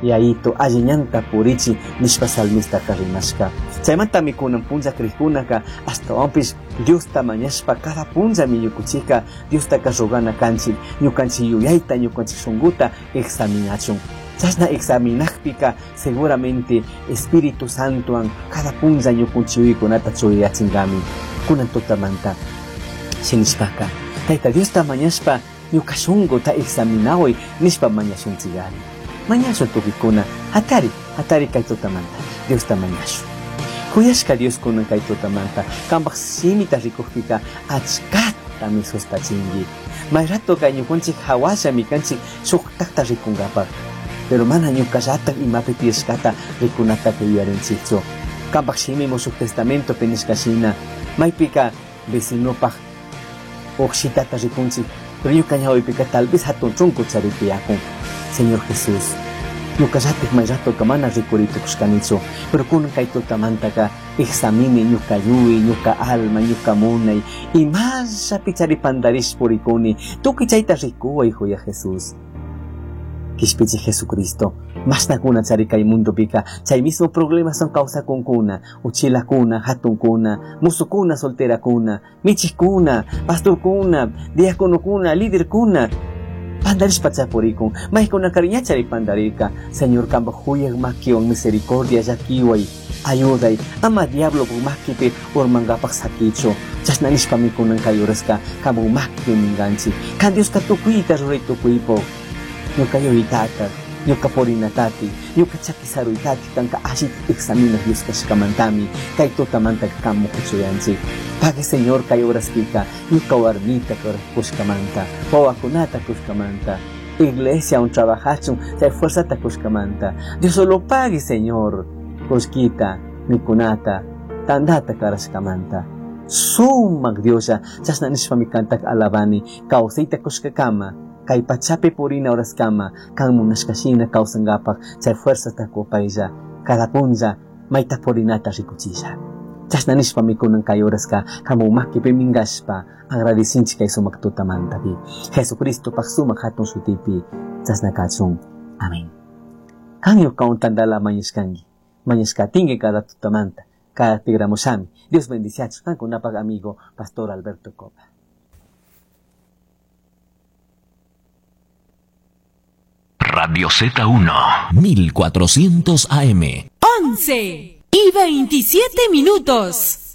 Yayitu alli ñanta purichi nishpa salmistaka rimashka. Chaymantami kunan punlla krikkunaka ashtawanpish Diosta mañashpa cada punllami ñukuchika Diostaka rogana kanchik, ñukanchik yuyayta, ñukanchik shunkuta examinachun. Chashna examinakpika seguramente Espíritu Santowan cada punlla ñukunchik yuyaykunata chuyayachinllami. Kunan tutamanta shinishpaka Tayta Diosta mañashpa ñuka shunkuta examinaway nishpa mañashunchikari. Mañashun tukikuna, hatari, hatari kay tutamanta Diosta mañashun. Kuyashka Dios kunan kay tutamanta kanpaj shimita rikukpika achkatami sustachinki. May rato kay ñukunchik hawallami kanchik shuktakta rikunkapak. Pero mana ñukallatak imapi tiyashkata rikunataka yuyarinchikchu. Kanpaj shimi Mushuq Testamentopi nishka shina, maypika vecinopaj uqshitata rikunchik, pero ñuka ñawipika tal vez hatun chunku charitiyakun. Señor Jesús, ñukallatik may ratoka mana rikuritukushkanichu, pero kunan kay tutamantaka examini ñuka yuyay, ñuka alma, ñuka munay, imashapi chari pantarish purikuni, tukuy chayta rikuway, Joya Jesús. Kishpichi Jesucristo, mashnakuna chari kay mundopika, chay mismo problemas son kawsakunkuna, uchilakuna, hatunkuna, musukuna, solterakuna, michikuna, pastorkuna, diaconokuna, liderkuna, pandarishpa chapurikun, maykuna kariñachari pandarirka, Señor kanpak huyak makiwan misericordia llakiway, ayuday, ama diablo makipi urmankapak sakichu, chashna nishpami kunan kay uraska kanpak makipi minkanchik, kan Dioska tukuyta ruray tukuypuk, ñuka yuyaytata, ñuka purinatati, ñuka chaki saruytati kanka allita examinaj Dios kashkamantami, kay tutamanta kan mukuchuyanchik. Pague Señor kay uraspika, ñuka warmita kushkamanta, wawakunata kushkamanta, iglesia un trabajachun, chay fuerzata kushkamanta. Dios solo pague Señor, kushkita, mikunata, tandata karashkamanta. Sumak Dioslla, chashna nishpami kantak alabani, kawsayta kushkakama, kay pachapi purina oraskama, kan munashkashina kawsankapak, chay fuerzata kupaylla, cada punlla mayta purinata rikuchilla. Chashna nishpami kunan kay oraska, kamu makipi minkashpa, agradecinchik kay sumak tutamantapi. Jesucristo pak sumak hatun shutipi, chashna kachun. Amén. Kan ñukawan tantala mañashkanki, mañashkatinki cada tutamanta, cada tigramushami. Dios bendiciachu, kankunapak amigo, Pastor Alberto Copa. Radio Z1, 1400 AM. 11 y 27 minutos.